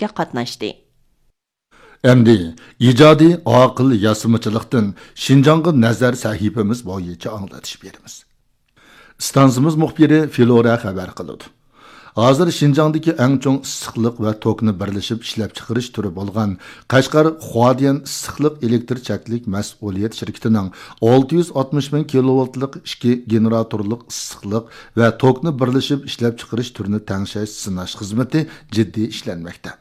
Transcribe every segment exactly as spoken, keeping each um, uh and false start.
كۆرۈشۈشكە قاتناشتى. ئەمدى ئىجادىي ئاقىل ياسىمىچىلىقتىن شىنجاڭغا نەزەر سەھىپىمىز بويىچە ئاڭلىتىش بېرىمىز. ئىستانسىمىز مۇخبىرى فلورا خەۋەر قىلىدۇ. ھازىر شىنجاڭدىكى ئەڭ چوڭ ئىسسىقلىق ۋە توكنى بىرلىشىپ ئىشلەپچىقىرىش تۈرى بولغان قەشقەر خۇادىيەن ئىسسىقلىق ئېلېكتر چەكلىك مەسئۇلىيەت شىركىتىنىڭ ئالتە يۈز ئاتمىش مىڭ كىلوۋاتلىق ئىككى گېنېراتورلۇق ئىسسىقلىق ۋە توكنى بىرلىشىپ ئىشلەپچىقىرىش تۈرىنى تەڭشەش سىناش خىزمىتى جىددىي ئىشلەنمەكتە.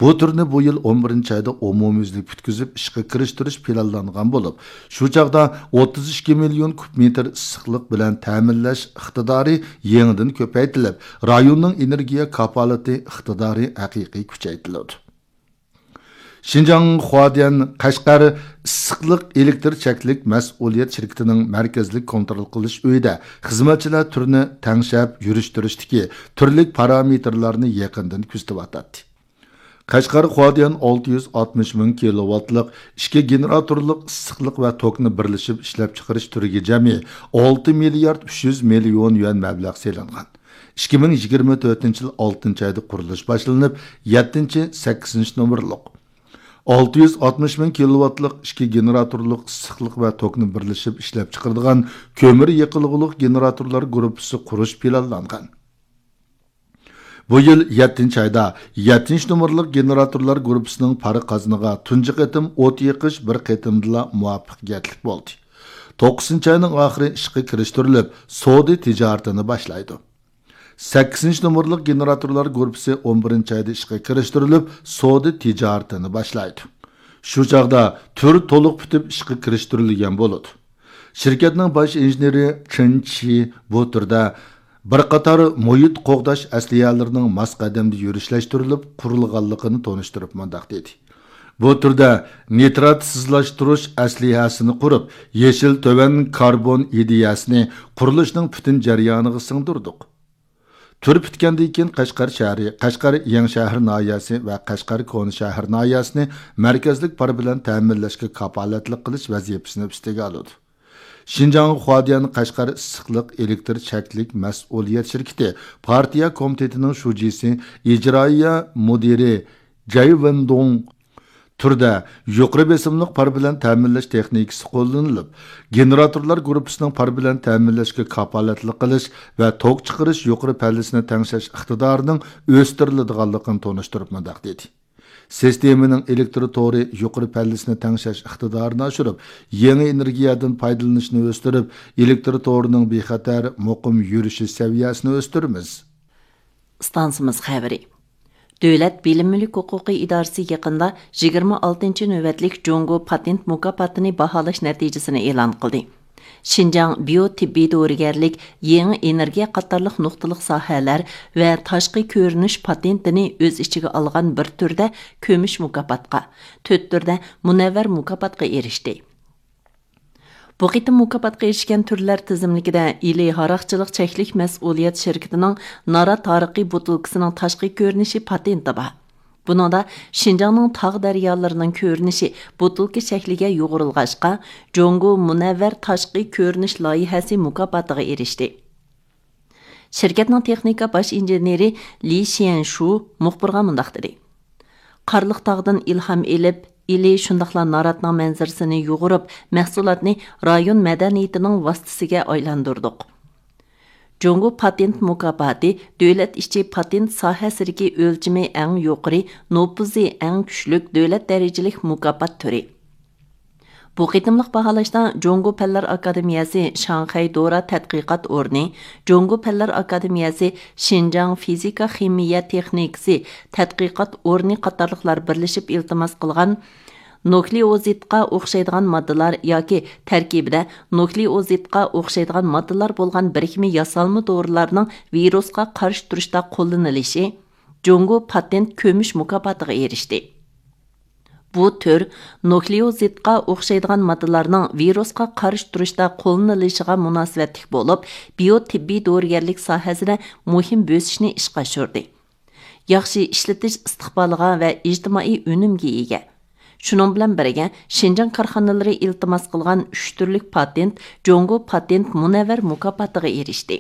بۇ تۈرنى بۇ يىل ئون بىرىنچى ئايدا ئومۇميۈزلۈك پۈتكۈزۈپ ئىشقا كىرىشتۈرۈش پىلانلانغان بولۇپ، شۇ چاغدا ئوتتۇز ئىككى مىليون كۇب مېتىر ئىسسىقلىق بىلەن تەمىنلەش ئىقتىدارى يېڭىدىن كۆپەيتىلىپ، رايوننىڭ ئېنېرگىيە كاپالىتى ئىقتىدارى ھەقىقىي كۈچەيتىلىدۇ. شىنجاڭ خۇادىيەن قەشقەر ئىسسىقلىق ئېلېكتر چەكلىك مەسئۇلىيەت شىركىتىنىڭ مەركەزلىك كونترول قىلىش ئۆيىدە خىزمەتچىلەر تۈرنى تەڭشەپ يۈرۈشتۈرۈشتىكى تۈرلۈك پارامېتىرلارنى يېقىندىن كۆزىتىۋاتاتتى. قەشقەر خۇادىيەن ئالتە يۈز ئاتمىش مىڭ كىلوۋاتلىق ئىككى گېنېراتورلۇق ئىسسىقلىق ۋە توكنى بىرلىشىپ ئىشلەپچىقىرىش تۈرىگە جەمئىي ئالتە مىليارد ئۈچ يۈز مىليون يۈەن مەبلەغ سېلىنغان. ئىككى مىڭ يىگىرمە تۆتىنچى يىل ئالتىنچى ئايدا قۇرۇلۇش باشلىنىپ، يەتتىنچى، سەككىزىنچى نومۇرلۇق ئالتە يۈز ئاتمىش مىڭ كىلوۋاتلىق ئىككى گېنېراتورلۇق ئىسسىقلىق ۋە توكنى بىرلىشىپ ئىشلەپچىقىرىدىغان كۆمۈر يېقىلغۇلۇق گېنېراتورلار گۇرۇپپىسى قۇرۇش پىلانلانغان. بۇ يىل يەتتىنچى ئايدا يەتتىنچى نومۇرلۇق گېنېراتورلار گۇرۇپپىسىنىڭ پارا قازىنىغا تۇنجى قېتىم ئوت يېقىش بىر قېتىمدىلا مۇۋەپپەقىيەتلىك بولدى. توققۇزىنچى ئاينىڭ ئاخىرى ئىشقا كىرىشتۈرۈلۈپ، سودا تىجارىتىنى باشلايدۇ. سەككىزىنچى نومۇرلۇق گېنېراتورلار گۇرۇپپىسى ئون بىرىنچى ئايدا ئىشقا كىرىشتۈرۈلۈپ، سودا تىجارىتىنى باشلايدۇ. شۇ چاغدا تۈر تولۇق پۈتۈپ ئىشقا كىرىشتۈرۈلگەن بولىدۇ. شىركەتنىڭ باش ئىنژېنېرى چېن چى بۇ تۈردە بىر قاتار مۇھىت قوغداش ئەسلىھەلىرىنىڭ ماس قەدەمدە يۈرۈشلەشتۈرۈلۈپ قۇرۇلغانلىقىنى تونۇشتۇرۇپ مۇنداق دېدى: بۇ تۈردە نىتراتسىزلاشتۇرۇش ئەسلىھەسىنى قۇرۇپ، يېشىل تۆۋەن كاربون ئىدىيەسىنى قۇرۇلۇشنىڭ پۈتۈن جەريانىغا سىڭدۈردۇق. تۈر پۈتكەندىن كېيىن، قەشقەر شەھىرى، قەشقەر يېڭى شەھەر ناھىيەسى ۋە قەشقەر كونا شەھەر ناھىيەسىنى مەركەزلىك پار بىلەن تەمىنلەشكە كاپالەتلىك قىلىش ۋەزىپىسىنى ئۈستىگە ئالىدۇ. شىنجاڭ خۇادىيەن قەشقەر ئىسسىقلىق ئېلېكتر چەكلىك مەسئۇلىيەت شىركىتى پارتىيە كومىتېتىنىڭ شۇجىسى، ئىجرائىيە مۇدىرى جەي ۋېندۇڭ تۈردە يۇقىرى بېسىملىق پار بىلەن تەمىنلەش تېخنىكىسى قوللىنىلىپ، گېنېراتورلار گۇرۇپپىسىنىڭ پار بىلەن تەمىنلەشكە كاپالەتلىك قىلىش ۋە توك چىقىرىش يۇقىرى پەللىسىنى تەڭشەش ئىقتىدارىنىڭ ئۆستۈرۈلىدىغانلىقىنى تونۇشتۇرۇپ مۇنداق دېدى: سىستېمىنىڭ ئېلېكتر تورى يۇقىرى پەللىسىنى تەڭشەش ئىقتىدارىنى ئاشۇرۇپ، يېڭى ئېنېرگىيەدىن پايدىلىنىشنى ئۆستۈرۈپ، ئېلېكتر تورىنىڭ بىخەتەر، مۇقىم يۈرۈشى سەۋىيەسىنى ئۆستۈرىمىز. ئىستانسىمىز خەۋىرى. دۆلەت بىلىم مۈلۈك ھوقۇقى ئىدارىسى يېقىندا يىگىرمە ئالتىنچى نۆۋەتلىك جۇڭگو پاتېنت مۇكاپاتىنى باھالاش نەتىجىسىنى ئېلان قىلدى. شىنجاڭ بىيو تېببىي دورىگەرلىك، يېڭى ئېنېرگىيە قاتارلىق نۇقتىلىق ساھەلەر ۋە تاشقى كۆرۈنۈش پاتېنتىنى ئۆز ئىچىگە ئالغان بىر تۈردە كۈمۈش مۇكاپاتقا، تۆت تۈردە مۇنەۋۋەر مۇكاپاتقا ئېرىشتى. بۇ قېتىم مۇكاپاتقا ئېرىشكەن تۈرلەر تىزىملىكىدە ئىلى ھاراقچىلىق چەكلىك مەسئۇلىيەت شىركىتىنىڭ نارات ھارىقى بوتۇلكىسىنىڭ تاشقى كۆرۈنۈشى پاتېنتى بار. بۇنىڭدا شىنجاڭنىڭ تاغ دەريالىرىنىڭ كۆرۈنۈشى بوتۇلكا شەكلىگە يۇغۇرۇلغاچقا، جۇڭگو مۇنەۋۋەر تاشقى كۆرۈنۈش لايىھەسى مۇكاپاتىغا ئېرىشتى. شىركەتنىڭ تېخنىكا باش ئىنژېنېرى لى شيەنشۇ مۇخبىرغا مۇنداق دېدى: قارلىق تاغدىن ئىلھام ئېلىپ، ئىلى شۇنداقلا ناراتنىڭ مەنزىرىسىنى يۇغۇرۇپ، مەھسۇلاتنى رايون مەدەنىيىتىنىڭ ۋاسىتىسىگە ئايلاندۇردۇق. جۇڭگو پاتېنت مۇكاپاتى دۆلەت ئىچى پاتېنت ساھەسىدىكى ئۆلچىمى ئەڭ يۇقىرى، نوپۇزى ئەڭ كۈچلۈك دۆلەت دەرىجىلىك مۇكاپات تۈرى. بۇ قېتىملىق باھالاشتا جۇڭگو پەنلەر ئاكادېمىيەسى شاڭخەي دورا تەتقىقات ئورنى، جۇڭگو پەنلەر ئاكادېمىيەسى شىنجاڭ فىزىكا خىمىيە تېخنىكىسى تەتقىقات ئورنى قاتارلىقلار بىرلىشىپ ئىلتىماس قىلغان نۇكلېئوزىدقا ئوخشايدىغان ماددىلار ياكى تەركىبىدە نۇكلېئوزىدقا ئوخشايدىغان ماددىلار بولغان بىرىكمە ياسالما دورىلارنىڭ ۋىرۇسقا قارشى تۇرۇشتا قوللىنىلىشى جۇڭگو پاتېنت كۈمۈش مۇكاپاتىغا ئېرىشتى. بۇ تۈر نۇكلېئوزىدقا ئوخشايدىغان ماددىلارنىڭ ۋىرۇسقا قارشى تۇرۇشتا قوللىنىلىشىغا مۇناسىۋەتلىك بولۇپ، بىيو تېببىي دورىگەرلىك ساھەسىدە مۇھىم بۆسۈشنى ئىشقا ئاشۇردى. ياخشى ئىشلىتىش ئىستىقبالىغا ۋە ئىجتىمائىي ئۈنۈمگە ئىگە. شۇنىڭ بىلەن بىرگە، شىنجاڭ كارخانىلىرى ئىلتىماس قىلغان ئۈچ تۈرلۈك پاتېنت جۇڭگو پاتېنت مۇنەۋۋەر مۇكاپاتىغا ئېرىشتى.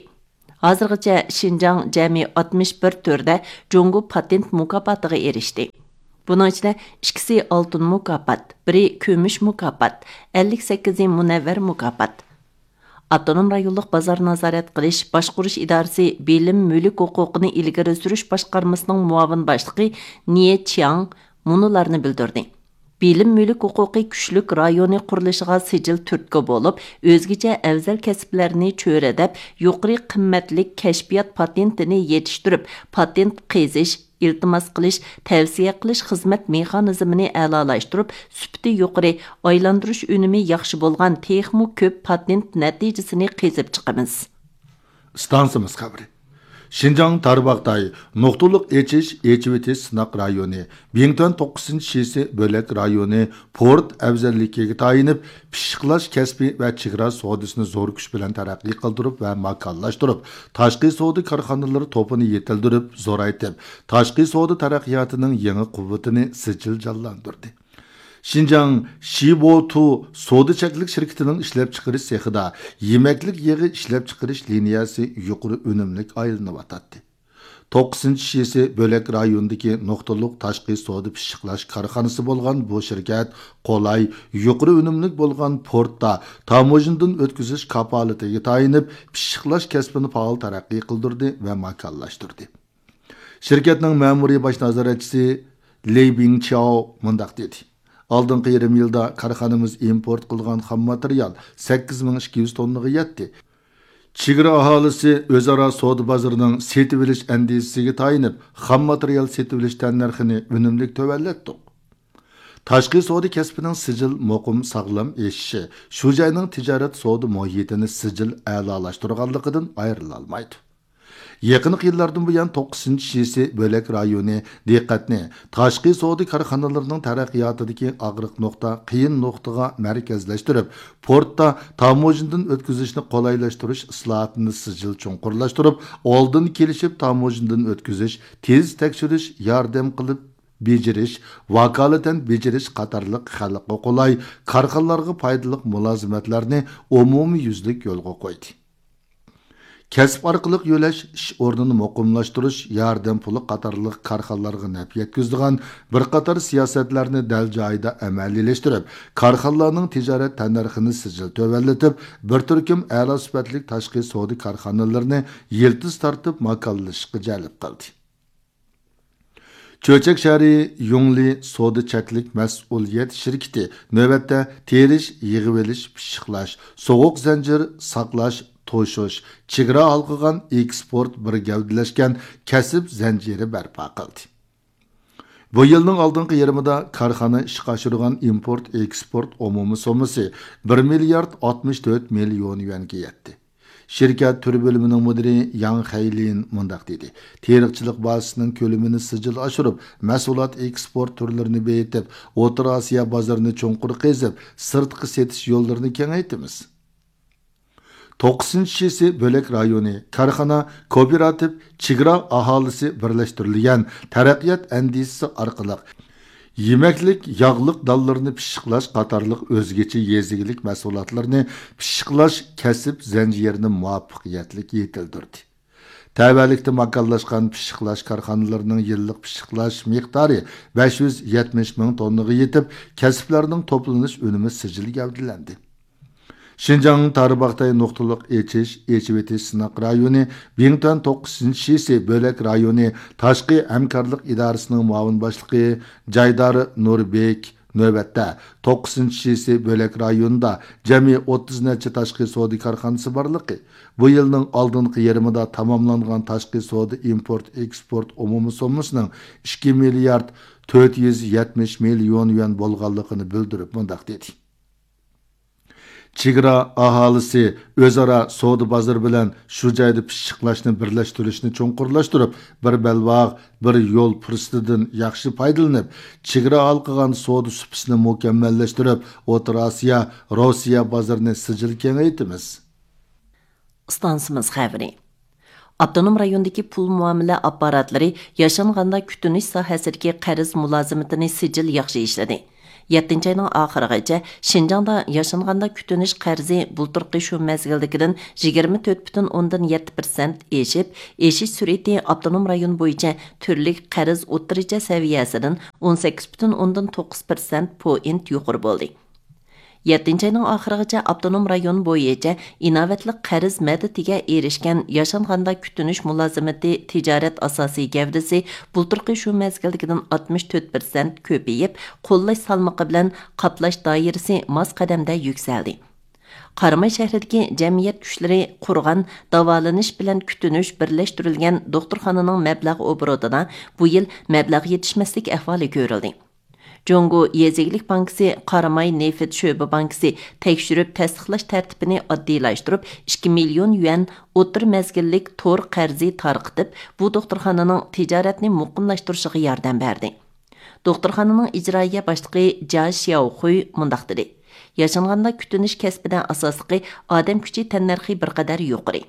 ھازىرغىچە شىنجاڭ جەمئىي ئاتمىش بىر تۈردە جۇڭگو پاتېنت مۇكاپاتىغا ئېرىشتى. بۇنىڭ ئىچىدە ئىككىسى ئالتۇن مۇكاپات، بىرى كۈمۈش مۇكاپات، ئەللىك سەككىزى مۇنەۋۋەر مۇكاپات. ئاپتونوم رايونلۇق بازار نازارەت قىلىش، باشقۇرۇش ئىدارىسى بىلىم مۈلۈك ھوقۇقىنى ئىلگىرى سۈرۈش باشقارمىسىنىڭ مۇئاۋىن باشلىقى نىيې چياڭ مۇنۇلارنى بىلدۈردى. بىلىم مۈلۈك ھوقۇقى كۈچلۈك رايونى قۇرۇلۇشىغا سىجىل تۈرتكە بولۇپ، ئۆزگىچە ئەۋزەل كەسىپلەرنى چۆرىدەپ، يۇقىرى قىممەتلىك كەشپىيات پاتېنتىنى يېتىشتۈرۈپ، پاتېنت قېزىش، ئىلتىماس قىلىش، تەۋسىيە قىلىش خىزمەت مېخانىزمىنى ئەلالاشتۇرۇپ، سۈپىتى يۇقىرى، ئايلاندۇرۇش ئۈنۈمى ياخشى بولغان تېخىمۇ كۆپ پاتېنت نەتىجىسىنى قېزىپ چىقىمىز. ئىستانسىمىز خەۋىرى. شىنجاڭ تارباغاتاي نۇقتىلىق ئېچىش، ئېچىۋېتىش سىناق رايونى، بىڭتۈەن توققۇزىنچى شىسى بۆلەك رايونى پورت ئەۋزەللىكىگە تايىنىپ، پىششىقلاش كەسپى ۋە چېگرا سودىسىنى زور كۈچ بىلەن تەرەققىي قىلدۇرۇپ ۋە ماكانلاشتۇرۇپ، تاشقى سودا كارخانىلىرى توپىنى يېتىلدۈرۈپ، زورايتىپ، تاشقى سودا تەرەققىياتىنىڭ يېڭى قۇۋۋىتىنى سىجىل جانلاندۇردى. شىنجاڭ شىبوتۇ سودا چەكلىك شىركىتىنىڭ ئىشلەپچىقىرىش سېخىدا يېمەكلىك يېغى ئىشلەپچىقىرىش لىنىيەسى يۇقىرى ئۈنۈملۈك ئايلىنىۋاتاتتى. توققۇزىنچى شىسى بۆلەك رايونىدىكى نۇقتىلىق تاشقى سودا پىششىقلاش كارخانىسى بولغان بۇ شىركەت قولاي، يۇقىرى ئۈنۈملۈك بولغان پورتتا تاموژنىدىن ئۆتكۈزۈش كاپالىتىگە تايىنىپ، پىششىقلاش كەسپىنى پائال تەرەققىي قىلدۇردى ۋە ماكانلاشتۇردى. شىركەتنىڭ مەمۇرىي باش نازارەتچىسى لېي بىڭچياۋ مۇنداق دېدى: «ئالدىنقى يېرىم يىلدا كارخانىمىز ئىمپورت قىلغان خام ماتېرىيال سەككىز مىڭ ئىككى يۈز توننىغا يەتتى. چېگرا ئاھالىسى ئۆزئارا سودا بازىرىنىڭ سېتىۋېلىش ئەندىزىسىگە تايىنىپ، خام ماتېرىيال سېتىۋېلىش تەننەرخىنى ئۈنۈملۈك تۆۋەنلەتتۇق.» تاشقى سودا كەسپىنىڭ سىجىل مۇقىم ساغلام ئېشىشى شۇ جاينىڭ تىجارەت سودا مۇھىتىنى سىجىل ئەلالاشتۇرغانلىقىدىن ئايرىلالمايدۇ. يېقىنقى يىللاردىن بۇيان، توققۇزىنچى شىسى بۆلەك رايونى دىققەتنى تاشقى سودا كارخانىلىرىنىڭ تەرەققىياتىدىكى ئاغرىق نۇقتا، قىيىن نۇقتىغا مەركەزلەشتۈرۈپ، پورتتا تاموژنىدىن ئۆتكۈزۈشنى قولايلاشتۇرۇش ئىسلاھاتىنى سىجىل چوڭقۇرلاشتۇرۇپ، ئالدىن كېلىشىپ تاموژنىدىن ئۆتكۈزۈش، تېز تەكشۈرۈش، ياردەم قىلىپ بېجىرىش، ۋاكالىتەن بېجىرىش قاتارلىق خەلققە قولاي، كارخانىلارغا پايدىلىق مۇلازىمەتلەرنى ئومۇميۈزلۈك يولغا قويدى. كەسىپ ئارقىلىق يۆلەش، ئىش ئورنىنى مۇقىملاشتۇرۇش، ياردەم پۇلى قاتارلىق كارخانىلارغا نەپ يەتكۈزىدىغان بىر قاتار سىياسەتلەرنى دەل جايىدا ئەمەلىيلەشتۈرۈپ، كارخانىلارنىڭ تىجارەت تەننەرخىنى سىجىل تۆۋەنلىتىپ، بىر تۈركۈم ئەلا سۈپەتلىك تاشقى سودا كارخانىلىرىنى يىلتىز تارتىپ ماكانلىشىشقا جەلپ قىلدى. چۆچەك شەھىرى يۇڭلى سودا چەكلىك مەسئۇلىيەت شىركىتى نۆۋەتتە تېرىش، يىغىۋېلىش، پىششىقلاش، سوغۇق زەنجىر، ساقلاش، توشۇش، چېگرا ھالقىغان ئېكسپورت بىر گەۋدىلەشكەن كەسىپ زەنجىرى بەرپا قىلدى. بۇ يىلنىڭ ئالدىنقى يېرىمىدا كارخانا ئىشقا ئاشۇرغان ئىمپورت ئېكسپورت ئومۇمىي سوممىسى بىر مىليارد ئاتمىش تۆت مىليون يۈەنگە يەتتى. شىركەت تۈر بۆلۈمىنىڭ مۇدىرى ياڭ خەيلىن مۇنداق دېدى: «تېرىقچىلىق بازىسىنىڭ كۆلىمىنى سىجىل ئاشۇرۇپ، مەھسۇلات ئېكسپورت تۈرلىرىنى بېيىتىپ، ئوتتۇرا ئاسىيا بازىرىنى چوڭقۇر قېزىپ، سىرتقا سېتىش يوللىرىنى كېڭەيتىمىز.» توققۇزىنچى شىسى بۆلەك رايونى كارخانا، كوپىراتىپ، چېگرا ئاھالىسى بىرلەشتۈرۈلگەن تەرەققىيات ئەندىزىسى ئارقىلىق يېمەكلىك، ياغلىق دانلىرىنى پىششىقلاش قاتارلىق ئۆزگىچە يېزا ئىگىلىك مەھسۇلاتلىرىنى پىششىقلاش كەسىپ زەنجىرىنى مۇۋەپپەقىيەتلىك يېتىلدۈردى. تەۋەلىكتە ماكانلاشقان پىششىقلاش كارخانىلىرىنىڭ يىللىق پىششىقلاش مىقدارى بەش يۈز يەتمىش مىڭ توننىغا يېتىپ، كەسىپلەرنىڭ توپلىنىش ئۈنۈمى سىجىل گەۋدىلەندى. شىنجاڭ تارباغاتاي نۇقتىلىق ئېچىش، ئېچىۋېتىش سىناق رايونى، بىڭتۈەن توققۇزىنچى شىسى بۆلەك رايونى تاشقى ھەمكارلىق ئىدارىسىنىڭ مۇئاۋىن باشلىقى جايدار نۇربېك نۆۋەتتە توققۇزىنچى شىسى بۆلەك رايونىدا جەمئىي ئوتتۇز نەچچە تاشقى سودا كارخانىسى بارلىقى، بۇ يىلنىڭ ئالدىنقى يېرىمىدا تاماملانغان تاشقى سودا ئىمپورت ئېكسپورت ئومۇمىي سوممىسىنىڭ ئىككى مىليارد تۆت يۈز يەتمىش مىليون يۈەن بولغانلىقىنى بىلدۈرۈپ مۇنداق دېدى: چېگرا ئاھالىسى ئۆزئارا سودا بازىرى بىلەن شۇ جايدا پىششىقلاشنى بىرلەشتۈرۈشنى چوڭقۇرلاشتۇرۇپ، بىر بەلباغ، بىر يول پۇرسىتىدىن ياخشى پايدىلىنىپ، چېگرا ھالقىغان سودا سۇپىسىنى مۇكەممەللەشتۈرۈپ، ئوتتۇرا ئاسىيا، روسىيە بازىرىنى سىجىل كېڭەيتىمىز. ئىستانسىمىز خەۋىرى. ئاپتونوم رايوندىكى پۇل مۇئامىلە ئاپپاراتلىرى ياشانغاندا كۈتۈنۈش ساھەسىدىكى قەرز مۇلازىمىتىنى سىجىل ياخشى ئىشلىدى. يەتتىنچى ئاينىڭ ئاخىرىغىچە شىنجاڭدا ياشانغاندا كۈتۈنۈش قەرزى بۇلتۇرقى شۇ مەزگىلدىكىدىن يىگىرمە تۆت پۈتۈن ئوندىن يەتتە پىرسەنت ئېشىپ، ئېشىش سۈرئىتى ئاپتونوم رايون بويىچە تۈرلۈك قەرز ئوتتۇرىچە سەۋىيەسىدىن ئون سەككىز پۈتۈن ئوندىن توققۇز پىرسەنت پوينت يۇقىرى بولدى. يەتتىنچى ئاينىڭ ئاخىرىغىچە ئاپتونوم رايون بويىچە ئىناۋەتلىك قەرز مەدىتىگە ئېرىشكەن ياشانغاندا كۈتۈنۈش مۇلازىمىتى تىجارەت ئاساسىي گەۋدىسى بۇلتۇرقى شۇ مەزگىلدىكىدىن ئاتمىش تۆت پىرسەنت كۆپىيىپ، قوللاش سالمىقى بىلەن قاپلاش دائىرىسى ماس قەدەمدە يۈكسەلدى. قاراماي شەھىرىدىكى جەمئىيەت كۈچلىرى قۇرغان داۋالىنىش بىلەن كۈتۈنۈش بىرلەشتۈرۈلگەن دوختۇرخانىنىڭ مەبلەغ ئوبوروتىدا بۇ يىل مەبلەغ يېتىشمەسلىك ئەھۋالى كۆرۈلدى. جۇڭگو يېزا ئىگىلىك بانكىسى، قاراماي نېفىت شۆبە بانكىسى تەكشۈرۈپ تەستىقلاش تەرتىپىنى ئاددىيلاشتۇرۇپ، ئىككى مىليون يۈەن ئوتتۇرا مەزگىللىك تور قەرزى تارقىتىپ، بۇ دوختۇرخانىنىڭ تىجارەتنى مۇقىملاشتۇرۇشىغا ياردەم بەردى. دوختۇرخانىنىڭ ئىجرائىيە باشلىقى جيا شياۋخۇي مۇنداق دېدى: ياشانغاندا كۈتۈنۈش كەسپىدە ئاساسلىقى ئادەم كۈچى تەننەرخى بىر قەدەر يۇقىرى.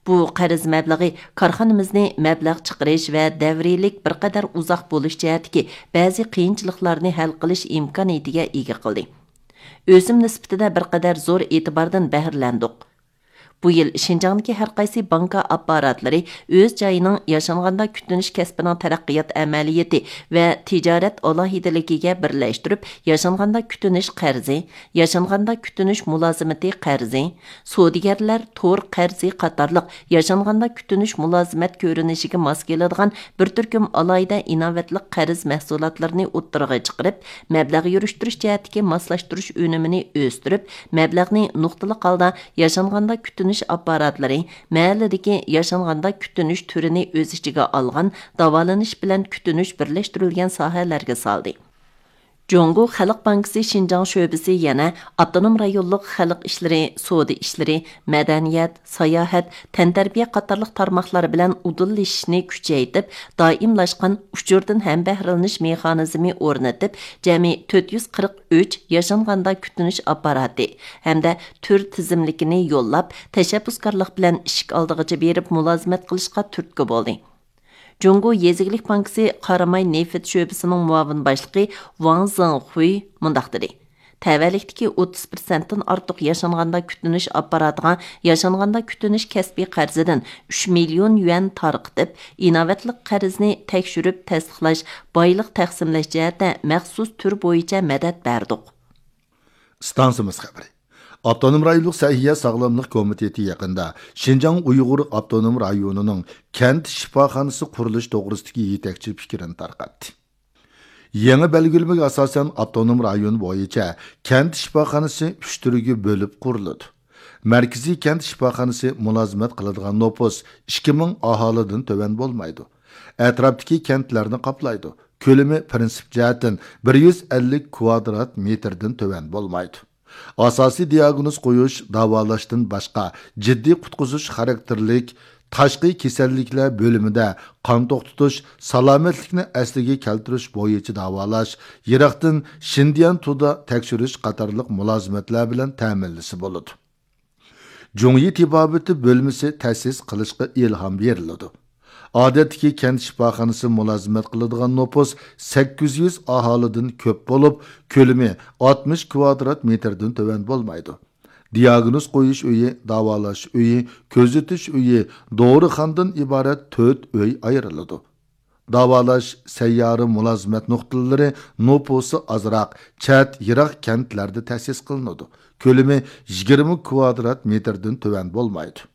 بۇ قەرز مەبلىغى كارخانىمىزنى مەبلەغ چىقىرىش ۋە دەۋرىيلىك بىر قەدەر ئۇزاق بولۇش جەھەتتىكى بەزى قىيىنچىلىقلارنى ھەل قىلىش ئىمكانىيىتىگە ئىگە قىلدى. ئۆسۈم نىسبىتىدە بىر قەدەر زور ئېتىباردىن بەھرىلەندۇق. بۇ يىل شىنجاڭدىكى ھەر قايسى بانكا ئاپپاراتلىرى ئۆز جايىنىڭ ياشانغاندا كۈتۈنۈش كەسپىنىڭ تەرەققىيات ئەمەلىيىتى ۋە تىجارەت ئالاھىدىلىكىگە بىرلەشتۈرۈپ، ياشانغاندا كۈتۈنۈش قەرزى، ياشانغاندا كۈتۈنۈش مۇلازىمىتى قەرزى، سودىگەرلەر تور قەرزى قاتارلىق ياشانغاندا كۈتۈنۈش مۇلازىمەت كۆرۈنۈشىگە ماس كېلىدىغان بىر تۈركۈم ئالاھىدە ئىناۋەتلىك قەرز مەھسۇلاتلىرىنى ئوتتۇرىغا چىقىرىپ، مەبلەغ يۈرۈشتۈرۈش جەھەتتىكى ماسلاشتۇرۇش ئۈنۈمىنى ئۆستۈرۈپ، مەبلەغنى نۇقتىلىق ھالدا ياشانغاندا كۈتۈنۈش ئاپپاراتلىرى، مەھەللىدىكى ياشانغاندا كۈتۈنۈش تۈرىنى ئۆز ئىچىگە ئالغان داۋالىنىش بىلەن كۈتۈنۈش بىرلەشتۈرۈلگەن ساھەلەرگە سالدى. جۇڭگو خەلق بانكىسى شىنجاڭ شۆبىسى يەنە ئاپتونوم رايونلۇق خەلق ئىشلىرى، سودا ئىشلىرى، مەدەنىيەت، ساياھەت، تەنتەربىيە قاتارلىق تارماقلار بىلەن ئۇدۇللىشىشنى كۈچەيتىپ، دائىملاشقان ئۇچۇردىن ھەمبەھرىلىنىش مېخانىزمى ئورنىتىپ، جەمئىي تۆت يۈز قىرىق ئۈچ ياشانغاندا كۈتۈنۈش ئاپپاراتى ھەمدە تۈر تىزىملىكىنى يوللاپ، تەشەببۇسكارلىق بىلەن ئىشىك ئالدىغىچە بېرىپ مۇلازىمەت قىلىشقا تۈرتكە بولدى. جۇڭگو يېزا ئىگىلىك بانكىسى قاراماي نېفىت شۆبىسىنىڭ مۇئاۋىن باشلىقى ۋاڭ زېڭخۇي مۇنداق دېدى: تەۋەلىكتىكى ئوتتۇز پىرسەنتتىن ئارتۇق ياشانغاندا كۈتۈنۈش ئاپپاراتىغا ياشانغاندا كۈتۈنۈش كەسپىي قەرزىدىن ئۈچ مىليون يۈەن تارقىتىپ، ئىناۋەتلىك قەرزنى تەكشۈرۈپ تەستىقلاش، بايلىق تەقسىملەش جەھەتتە مەخسۇس تۈر بويىچە مەدەت بەردۇق. ئىستانسىمىز خەۋىرى. ئاپتونوم رايونلۇق سەھىيە ساغلاملىق كومىتېتى يېقىندا شىنجاڭ ئۇيغۇر ئاپتونوم رايونىنىڭ كەنت شىپاخانىسى قۇرۇلۇش توغرىسىدىكى يېتەكچى پىكرىنى تارقاتتى. يېڭى بەلگىلىمىگە ئاساسەن، ئاپتونوم رايون بويىچە كەنت شىپاخانىسى ئۈچ تۈرگە بۆلۈپ قۇرۇلىدۇ. مەركىزىي كەنت شىپاخانىسى مۇلازىمەت قىلىدىغان نوپۇس ئىككى مىڭ ئاھالىدىن تۆۋەن بولمايدۇ. ئەتراپتىكى كەنتلەرنى قاپلايدۇ. كۆلىمى پىرىنسىپ جەھەتتىن بىر يۈز ئەللىك كۋادرات مېتىردىن تۆۋەن بولمايدۇ. ئاساسىي دىئاگنوز قويۇش، داۋالاشتىن باشقا، جىددىي قۇتقۇزۇش خاراكتېرلىك تاشقى كېسەللىكلەر بۆلۈمىدە قان توختىتىش، سالامەتلىكنى ئەسلىگە كەلتۈرۈش بويىچە داۋالاش، يىراقتىن شىندىيەن تودا تەكشۈرۈش قاتارلىق مۇلازىمەتلەر بىلەن تەمىنلىسە بولىدۇ. جۇڭيى تېبابىتى بۆلمىسى تەسىس قىلىشقا ئىلھام بېرىلىدۇ. ئادەتتىكى كەنت شىپاخانىسى مۇلازىمەت قىلىدىغان نوپۇس سەككىز يۈز ئاھالىدىن كۆپ بولۇپ، كۆلىمى ئاتمىش كۋادرات مېتىردىن تۆۋەن بولمايدۇ. دىئاگنوز قويۇش ئۆيى، داۋالاش ئۆيى، كۆزىتىش ئۆيى، دورىخانىدىن ئىبارەت تۆت ئۆي ئايرىلىدۇ. داۋالاش سەييارە مۇلازىمەت نۇقتىلىرى نوپۇسى ئازراق، چەت، يىراق كەنتلەردە تەسىس قىلىنىدۇ. كۆلىمى يىگىرمە كۋادرات مېتىردىن تۆۋەن بولمايدۇ.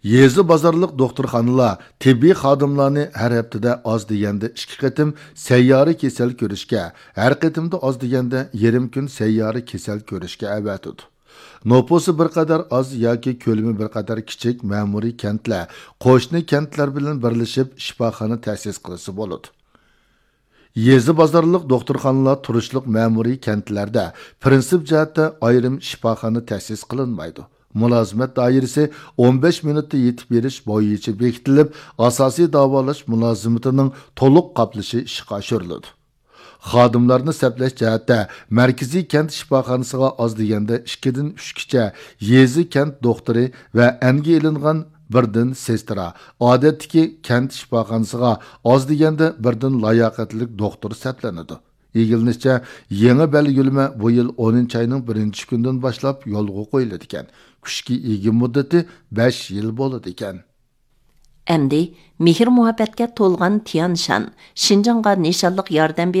يېزا بازارلىق دوختۇرخانىلار تېببىي خادىملارنى ھەر ھەپتىدە ئاز دېگەندە ئىككى قېتىم سەييارە كېسەل كۆرۈشكە، ھەر قېتىمدا ئاز دېگەندە يېرىم كۈن سەييارە كېسەل كۆرۈشكە ئەۋەتىدۇ. نوپۇسى بىر قەدەر ئاز ياكى كۆلىمى بىر قەدەر كىچىك مەمۇرىي كەنتلەر قوشنا كەنتلەر بىلەن بىرلىشىپ شىپاخانا تەسىس قىلسا بولىدۇ. يېزا بازارلىق دوختۇرخانىلار تۇرۇشلۇق مەمۇرىي كەنتلەردە پىرىنسىپ جەھەتتە ئايرىم شىپاخانا تەسىس قىلىنمايدۇ. مۇلازىمەت دائىرىسى ئون بەش مىنۇتتا يېتىپ بېرىش بويىچە بېكىتىلىپ، ئاساسىي داۋالاش مۇلازىمىتىنىڭ تولۇق قاپلىشى ئىشقا ئاشۇرۇلىدۇ. خادىملارنى سەپلەش جەھەتتە مەركىزىي كەنت شىپاخانىسىغا ئاز دېگەندە ئىككىدىن ئۈچكىچە يېزا كەنت دوختۇرى ۋە ئەنگە ئېلىنغان بىردىن سېسترا، ئادەتتىكى كەنت شىپاخانىسىغا ئاز دېگەندە بىردىن لاياقەتلىك دوختۇر سەپلىنىدۇ. ئىگىلىنىشىچە، يېڭى بەلگىلىمە بۇ يىل ئونىنچى ئاينىڭ بىرىنچى كۈنىدىن باشلاپ يولغا قويۇلىدىكەن. كۈچكە ئىگە مۇددىتى بەش يىل بولىدىكەن. ئەمدى مېھىر-مۇھەببەتكە تولغان تيەنشان، شىنجاڭغا نىشانلىق ياردەم